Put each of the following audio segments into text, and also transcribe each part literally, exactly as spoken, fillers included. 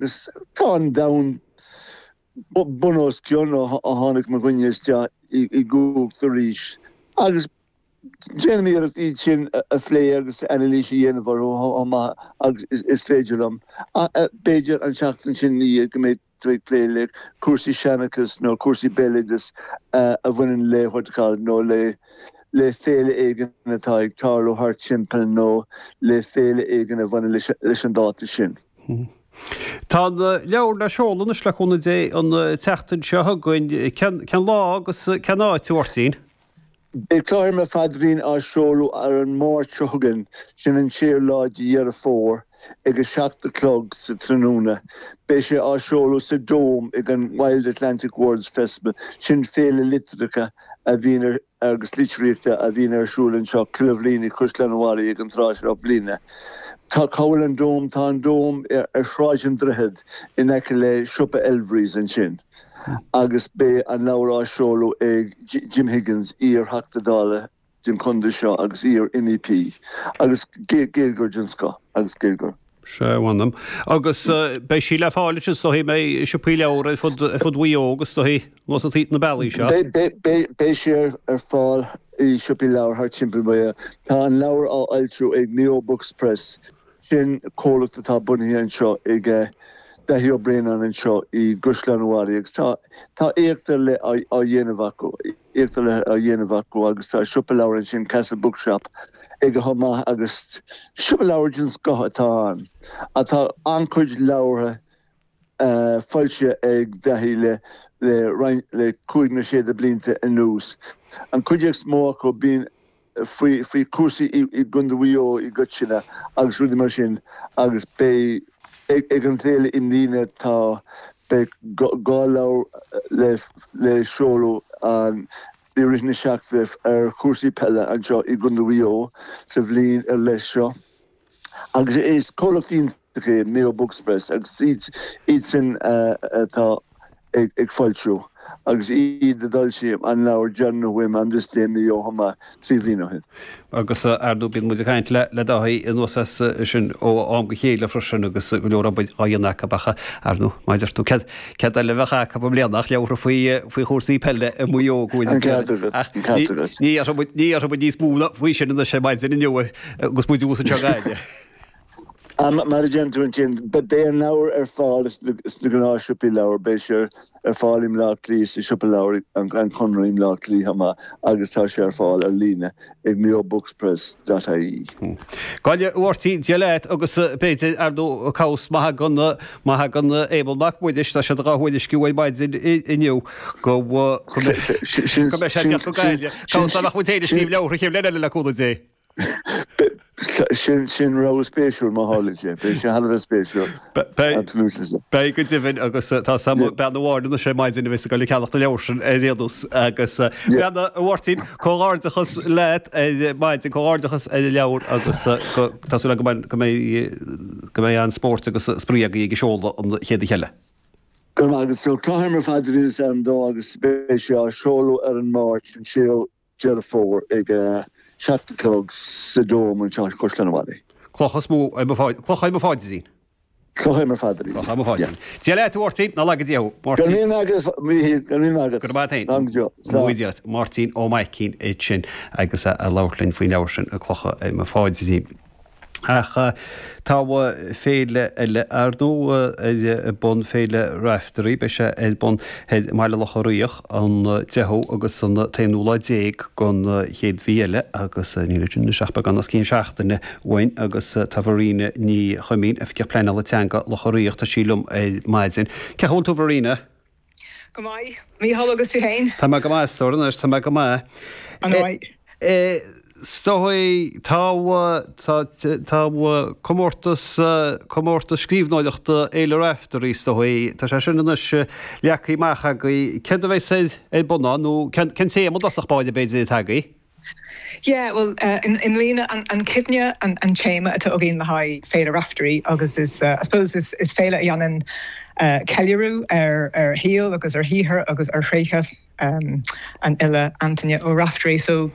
Agus tá an domhan bun os cionn ó tháinig mo dhuine isteach i gcumhacht arís. Agus déanaim iarracht iad sin a phlé agus anailís a dhéanamh orthu chomh maith agus is féidir liom. B'fhéidir an tseachtain sin ina dhiaidh go mbeidh tú ag plé le cúrsaí seanchas nó cúrsaí béaloideas a bhaineann le what you call nó le le féile éigin atá ag tarlú thart timpeall nó le féile éigin a bhaineann leis an dáta sin. Tá an leabhar le seoladh anois le cúnamh Dé an tseachtain seo chugainn. Cén lá agus cén áit, a Mháirtín? Beidh Cloch ar mo Phaidrín á seoladh ar an Máirt seo chugainn, sin an séú lá de Dheireadh Fómhair, ag a seacht a chlog sa tráthnóna. Beidh sé á seoladh sa Dome ag an Wild Atlantic Words Festival, sin féile liteartha a bhíonn ar agus litríochta a bhíonn ar siúl anseo chuile bhliain i gCaisleán an Bharraigh ag an tráth seo bliana. Tá cá bhfuil an Dome? Tá an Dome ar Shráid an Droichid in aice le siopa Elvery's ansin agus beidh an leabhar á seoladh ag Jim Higgins, iar-Theachta Dála den chontae seo agus iar-MEP agus Gaeilgeoir den scoth agus Gaeilgeoir. Sea, mh'anam. Agus beidh sí le fáil is dóichí i siopaí leabhar ar fud ar fud Mhaigh Eo agus is dóichí anuas na bealaí seo. Beidh sí ar fáil i siopaí leabhar thart timpeall Mhaigh Eo. Tá an leabhar á fhoilsiú ag Mayo Books Press, sin comhlacht atá bunaithe anseo ag Daithí Ó Braonáin anseo i gCaisleán an Bharraigh agus tá tá éacht ar leith á dhéanamh acu, éacht ar leith á dhéanamh acu agus tá siopa leabhar ansin, Castle Bookshop, aige chomh maith agus siopa leabhar den scoth atá ann. Tá an-chuid leabhartha foilsithe ag Daithí le le roinnt le cúig nó sé de blianta anuas. An chuid is mó acu bíonn faoi faoi chúrsaí i i gContae Mhaigh Eo i gcoitinne agus rudaí mar sin agus beidh ag ag an bhféile i mbliana tá beidh dhá leabhar le le seoladh an i rith na seachtaine ar chúrsaí peile anseo i gContae Mhaigh Eo sa bhliain ar leith seo. Agus is comhlacht iontach é Mayo Books Press agus iad iad sin atá ag ag foilsiú agus iad a d'fhoilsigh an leabhar deireanach uaim On This Day Mayo chomh maith trí bhliain ó shin. Agus ar ndóigh bíonn muid ag caint le le Dáithí anuas as sin ó am go chéile freisin agus go leor obair á dhéanamh acu ach ar ndóigh mar a deir tú céard céard eile a bheadh acu i mbliana ach leabhartha faoi faoi chúrsaí peile i Maigh Eo go bhfuil An ceart agat, ach an ceart agat. ní déarfaidh muid ní déarfaidh muid níos mó ná faoi sin anois ar maidin inniu agus muid thuas anseo i nGaillimh. Mar a deireann tú ansin, beidh an leabhar ar fáil sna gnáthshiopaí leabhar, beidh sé ar fáil i mBleá Cliath sa siopa leabhar an Conradh i mBleá Cliath chomh maith agus tá sé ar fáil ar líne ag mayobookspress dot ie. Go hálainn, a Mháirtín, Dia leat agus b'fhéidir, ar ndóigh, cabhas má thagann, má thagann Éamonn Mac Muiris, tá siad dhá thuairisciú ar maidin inniu go, go mbeidh sé ag teacht go Gaillimh. Cabhas dá mbeadh muid féin ag scríobh leabhartha an chéad bhliain eile le cúnamh Dé. Sin sin rogha spéisiúil má tharlaíonn sé. Beidh sé thar a bheith spéisiúil. Absolutely. Beidh go deimhin agus tá sam bean amháin anois ar maidin a bheas ag dul ag ceannach na leabhar sin ar aon nós agus bean a Mháirtín, comhghairdeachas leat ar maidin, comhghairdeachas ar an leabhar agus go tá súil agam go mbeidh go mbeidh an-spórt agus spraoi agaibh ag an seoladh an chéad oíche eile. Go raibh maith agat. So Cloch ar mo Phaidrín is ainm dó agus beidh sé á seoladh ar an Máirt an séú Deireadh Fómhair ag a seacht a chlog sa Dome anseo i gCaisleán an Bharraigh. Cloch is mó ar mo Cloch ar mo phaidrín. Cloch ar mo phaidrín. Cloch ar mo phaidrín. Dia leat, a Mháirtín, ná laga Dia thú. Go raibh míle maith agat, a Mhíchíl, go raibh míle maith agat. Go raibh maith agat féin. Go deo. Slán. Dia duit. Máirtín Ó Maicín ansin agus é ag labhairt linn faoin leabhar sin, Clocha ar mo Phaidrín. Ach tá féile eile, ar ndóigh, ar bun, Féile Raifteirí. Beidh sé ar bun i mBaile Locha Riach an deichiú agus an t-aonú lá déag den chéad mhí eile agus níl ansin anois ach beagán os cionn seachtaine uainn agus tá Verena Ní Chuimín, Oifigeach Pleanála Teanga Locha Riach, tá sí liom ar maidin. Cén chaoi a bhfuil tú Verena? Go maith, Mícheál, agus tú féin? Tá mé go maith, a stór, anois, tá mé go maith. An-mhaith. Is dóigh, tá, tá, tá comórtas, comórtas scríbhneoireachta Fhéile Raifteirí, is dóigh, tá sé sin anois leagtha amach agaibh. Céard a bheas ar, ar bun ann, nó cén, cén téama i dtosach báire, b'fhéidir, atá agaibh? Yeah, bhuel, i mbliana, an chuimhne an téama atá againn le haghaidh Féile Raifteirí agus is, I suppose, is féile a dhéanann ceiliúradh ar ar shaol agus ar shaothar agus ar thréithe an fhile Antaine Ó Raifteirí. So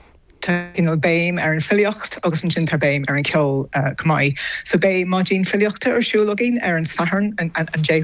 cineál béim ar an filíocht agus ansin tá béim ar an ceol uh, chomh maith. So beidh maidin filíochta ar siúl againn ar an Satharn an, an, an